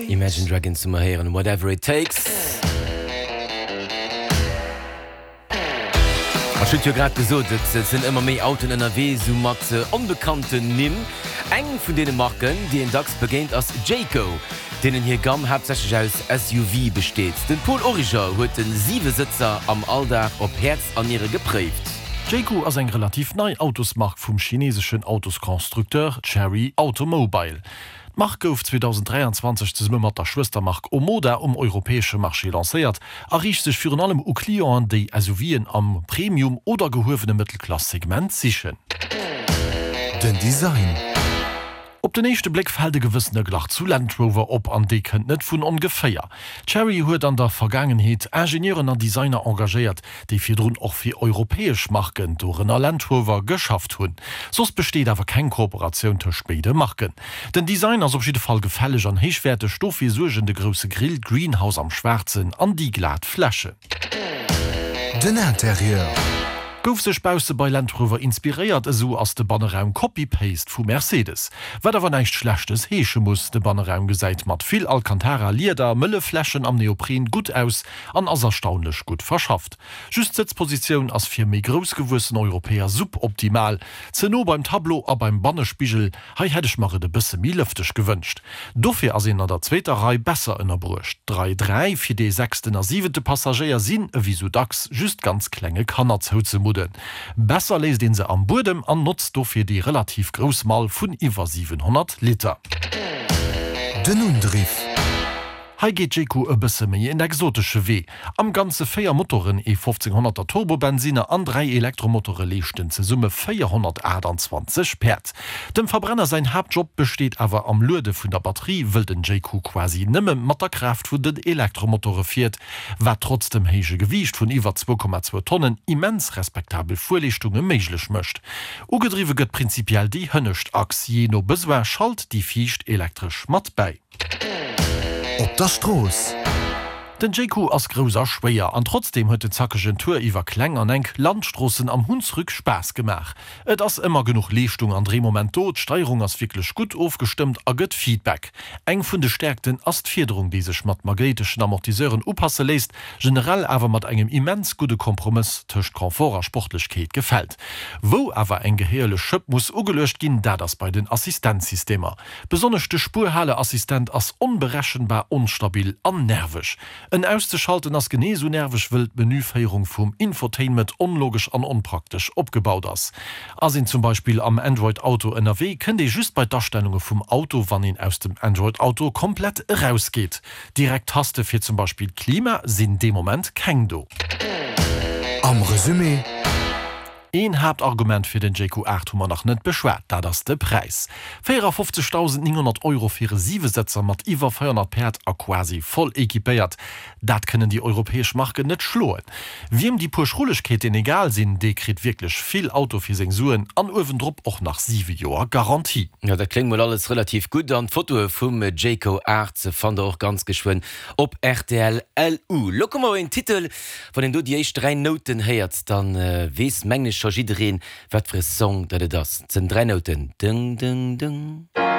Imagine Dragons hu mer héieren, Whatever It Takes. Ech hunn et jo grad gesot, et sinn ëmmer méi Autoen ënnerwee, sou mat onbekannten Nimm. Eng vun deene Marken, déi een dacks begéint, ass Jayco, deenen hir Gamm haaptsächlech aus SUVe besteet. Den Paul Origer huet de Siwesëtzer am Alldag op Häerz an Niere gepréift. Jayco ass eng relativ nei Autosmark vum chineseschen Autosconstructeur Chery Automobile. D'Mark gouf 2023 zesumme mat der Schwëstermark Omoda um europäesche Marché lancéiert a riicht sech virun allem u Clienten, déi SUVen am Premium oder gehuewene Mëttelklass-Segment sichen. Den Design. Op den éischte Bléck fält e gewëssene Glach zu Land Rover op, an dee kënnt net vun ongeféier. Chery huet an der Vergaangenheet Ingenieuren an Designer engagéiert, déi virdrun och fir europäesch Marken, dorënner Land Rover, geschafft hunn. Soss besteet awer keng Kooperatioun tëscht béide Marken. Den Design ass op jidde Fall gefälleg an héichwäerteg, dofir suergen de grousse Grill, d'Greenhouse am Schwaarzen an déi glat Fläche. Den Interieur. Gouf sech bausse bei Land Rover inspiréiert, esou ass de Banneraum Copy-Paste vu Mercedes. Wat awer näischt Schlechtes heesche muss, de Banneraum gesäit mat vill Alcantara, Lieder, mëlle Flächen am Neopren gutt aus an ass erstaunlech gutt verschafft. Just d'Sëtzpositioun ass fir méi groussgewuessen Europäer suboptimal, ze no beim Tableau a beim Bannespigel, hei hätt ech mer et e bësse méi lëfteg gewënscht. Dofir ass een an der zweeter Rei besser ënnerbruecht. D'Rei 3 fir dee sechsten a siwente Passagéier sinn, ewéi sou dacks, just ganz klenge Kanner zouzemudden. Besser léisst een se am Buedem an notzt dofir déi relativ grouss Mall vun iwwer 700 Liter. Den Undriff. Hei geet Jayco e bësse méi en exotesche Wee. Am Ganze 4 Motoren, ee 1500er Turbobensinner an 3 Elektromotore leeschten zesumme 428 Päerd. Dem Verbrenner säin Haaptjob besteet awer am Luede vun der Batterie, wëll den Jayco quasi nëmme mat der Kraaft vun den Elektromotore fiert, wat trotz dem héije Gewiicht vun iwwer 2,2 Tonnen immens respektabel Fuerleeschtunge méiglech mécht. Ugedriwwe gëtt prinzipiell déi hënnescht Achs, jee no Besoin schalt déi viischt elektresch mat bäi. Op der Strooss. Den Jayco ass grouss a schwéier, an trotzdeem huet den zackegen Tour iwwer kleng an enk Landstroossen am Hunsrück Spaass gemaach. Et ass ëmmer genuch Leeschtung an Dréimoment do, d'Steierung ass wierklech gutt ofgestëmmt a gëtt Feedback. Eng vun de Stäerkten ass d'Fiederung, déi sech mat magnéiteschen Amortiseuren upasse léisst, generell awer mat engem immens gudde Kompromëss tëscht Confort a Sportlechkeet gefält. Wou awer eng gehéierlech Schëpp muss ugeluecht ginn, dat ass bei den Assistenzsystemer. Besonnesch de Spuerhaleassistent ass onberechenbar onstabil an nerveg. En auszeschalten ass genee esou nerveg, wëll d'Menüféierung vum Infotainment onlogesch an onpraktesch opgebaut ass. Ass een zum Beispill am Android Auto ënnerwee, kënnt ee just bei d'Astellunge vum Auto, wann een aus dem Android Auto komplett erausgeet. Direkt Taste fir zum Beispill d'Klima sinn dee Moment keng do. Am Resumé. Een Haaptargument fir den Jayco 8 hu mer nach net beschwat, dat ass de Präis. 54.900 Euro fir e Siwesëtzer mat iwwer 400 Päerd a quasi voll equipéiert, dat kënnen déi europäesch Marken net schloen. Wiem déi puer Schrullegkeeten egal sinn, dee kritt wierklech vill Auto fir seng Suen an uewendrop och nach 7 Joer Garantie. Jo, dat kléngt mol alles relativ gutt an d'Fotoe vum Jayco 8 fannt der och ganz geschwënn op rtl LU. Lo komme mer op een Titel, Wann een do déi éischt 3 Nouten héiert, dann weess mengen ech scho jiddereen wat fir e Song dat et ass. Et sënn 3 Nouten, dëng dëng dëng.